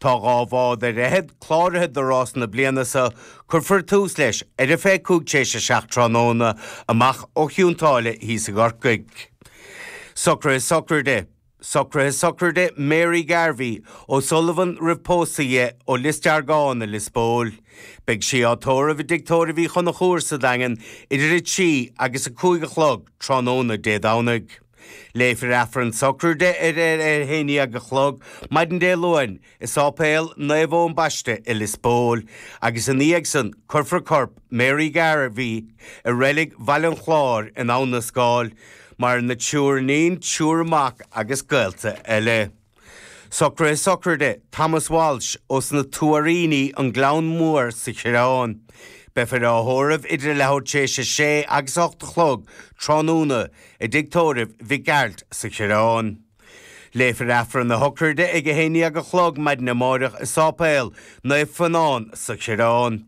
Tá 2 bhád ar fhichead cláraithe do rás na bliana seo, cuirfear tús leis ar a 25 tar éis a 7 tráthnóna amach ó Chionn tSáile thíos i gCorcaigh. Socruithe Sochraide Socruithe Sochraide Mary Garvey, O'Sullivan roimh pósadh di, ó Lios Deargáin i Lios Póil. Beidh sí á tórramh i dTigh Tórraimh Uí Chonchúir sa Daingean idir 3 agus 5 a chlog tráthnóna Dé Domhnaigh. Léifear Aifreann sochraide ar ar a 11 a chlog maidin Dé Luain i Sáipéal Naomh Eoin Baiste i Lios Póil agus ina dhiaidh san cuirfear corp Mary Garvey i reilig Bhaile an Chláir in Abha na Scáil, maireann a triúr iníon, triúr mac agus gaolta eile. Socruithe sochraide Thomas Walsh ós na Tuairíní, An Gleann Mór sa Choireán. Beifear á thórramh idir a leathuair tar éis a sé agus a 8 a chlog tráthnóna i dTigh Tórraimh Mhic Gearailt sa Choireán. Léifear Aifreann a shocraide ag a 11 a chlog maidin amáireach i Sáipéal Naomh Fionán sa Choireán.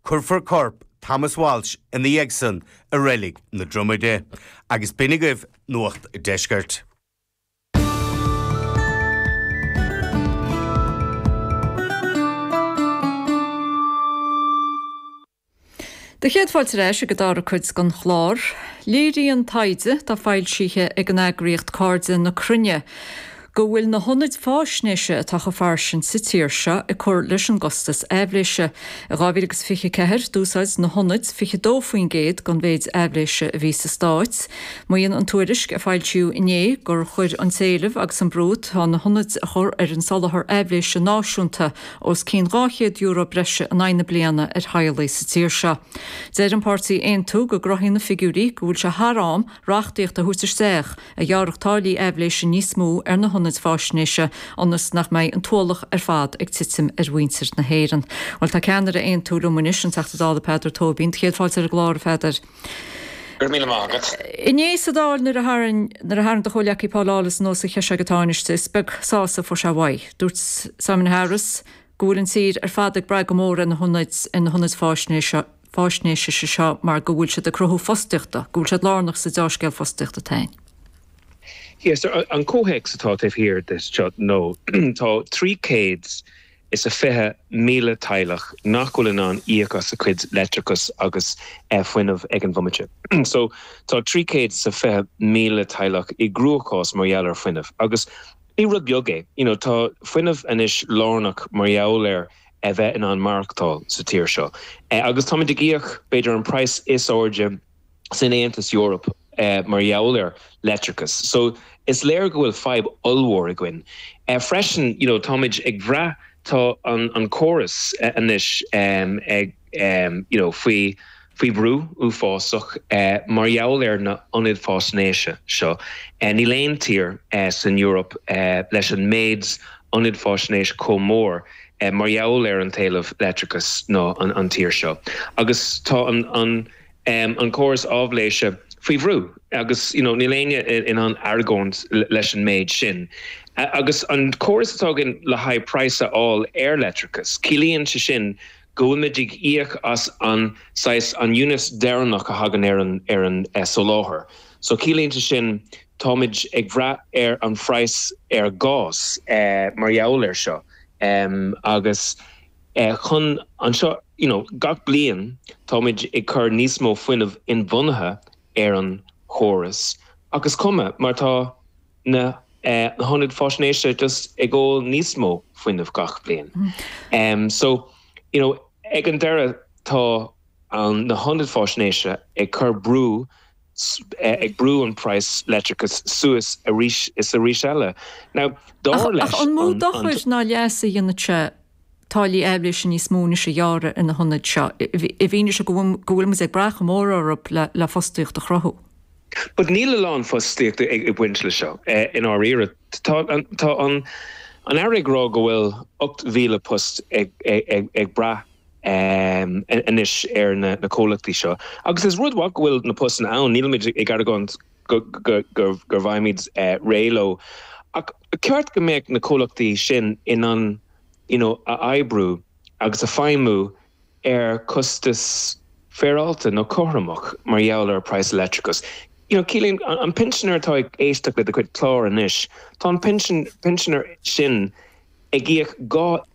Cuirfear corp Thomas Walsh ina dhiaidh san i Reilig na Dromaide. Agus b'in agaibh Nuacht an Deiscirt. Do chéad fáilte ar ais ag an dara cuid den chlár. Léiríonn taighde atá foilsithe ag an eagraíocht Cairde na Cruinne go bhfuil na hionaid fáisnéise atá chomh fairsing sa tír seo ag cur leis an gcostas aibhléise. I 2024, d'úsáid na hionaid 22% den mhéid aibhléise a bhí sa stát. Maíonn an tuairisc a foilsíodh inné gur chuir an t-éileamh agus an brú atá na hionaid a chur ar an soláthar aibhléise náisiúnta os cionn €200 breise in aghaidh na bliana ar theaghlaigh sa tír seo. Deir an páirtí Aontú go gcruthaíonn na figiúirí go bhfuil sé thar am reachtaíocht a thabhairt isteach a ghearrfadh táillí aibhléise níos mó ar na hionaid fáisnéise ionas nach mbeidh an t-ualach ar fad ag titim ar mhuintir na hÉireann. Bhuel tá ceannaire Aontú liom anois, an Teachta Dála Peadar Tóibín. Do chéad fáilte ar an gclár, a Pheadair. Go raibh míle maith agat. Inné sa Dáil nuair a tharraing nuair a tharraing do chomhleacaí Paul Lawless anuas an cheist seo ag an Tánaiste, is beag sásamh a fuair sé uaidh. Dúirt Simon Harris go bhfuil an tír ar fad ag brath go mór ar na hionaid ar na hionaid fáisnéise fáisnéise seo mar go bhfuil siad ag cruthú fostaíochta, go bhfuil siad lárnach sa deá-scéal fostaíochta atá ann. Yes, an comhthéacs atá taobh thiar de seo nó tá 300 is a 20,000 teaghlach nach bhfuil in ann íoc as a cuid leictreachas agus fuinneamh ag an bhomaite. So tá 320,000 teaghlach i gcruachás mar gheall ar fuinneamh agus ní rud beag é. You know tá fuinneamh anois lárnach mar gheall ar a bheith in ann maireachtáil sa tír seo. Agus táimid ag íoc b'fhéidir an praghas is airde san Aontas Eorpach mar gheall ar leictreachas. So is léir go bhfuil fadhb ollmhór againn. Freisin, you know, táimid ag bhrath, tá an an córas anois ag you know faoi faoi bhrú uafásach mar gheall ar na hionaid fáisnéise seo. Níl aon tír san Eoraip leis an méid ionad fáisnéis chomh mór mar gheall ar an t-éileamh leictreachais ná an tír seo. Agus tá an an an córas áibhléise faoi bhrú agus you know níl éinne in ann argóint leis an méid sin. Agus an córas atá againn le haghaidh praghas a fháil ar leictreachas, ciallaíonn sé sin go bhfuilmid ag íoc as an saghas an unit deireanach a thagann ar an ar an soláthar. So ciallaíonn sé sin táimid ag bhrath ar an phraghas ar ghás mar gheall air seo agus chun anseo you know gach bliain táimid ag cur níos mó fuinneamh inbhuanaithe ar an chóras ach is cuma mar tá na hionaid fáisnéise just ag ól níos mó fuinnimh gach bliain. So you know ag an deireadh tá an na hionaid fáisnéise ag cur brú ag brú an praghas leictreachais suas arís is arís eile. Now dar leis Ach an mó dochair ná leas a dhéanfaidh sé táillí aibhléise níos mó anois a ghearradh ar na hionaid seo, i bhfianaise go bhfuil muid ag brath chomh mór orthu le fostaíocht a chruthú? But níl a lán fostaíochta ag baint le seo, i ndáiríre. Tá an Aire ag rá go bhfuil 8,000 post ag brath anois ar na comhlachtaí seo. Agus is rud mhaith go bhfuil na postanna ann, nílimid ag argóint go bhfaighimid réidh leo. Ach ba cheart go mbeadh na comhlachtaí sin in ann you know a oibriú agus a feidhmiú ar costas féaráilte nó cothromach mar gheall ar praghas leictreachais. You know ciallaíonn an pinsinéir atá ag éisteacht le do chuid clár anois, tá an pinsinéir sin ag íoc 2.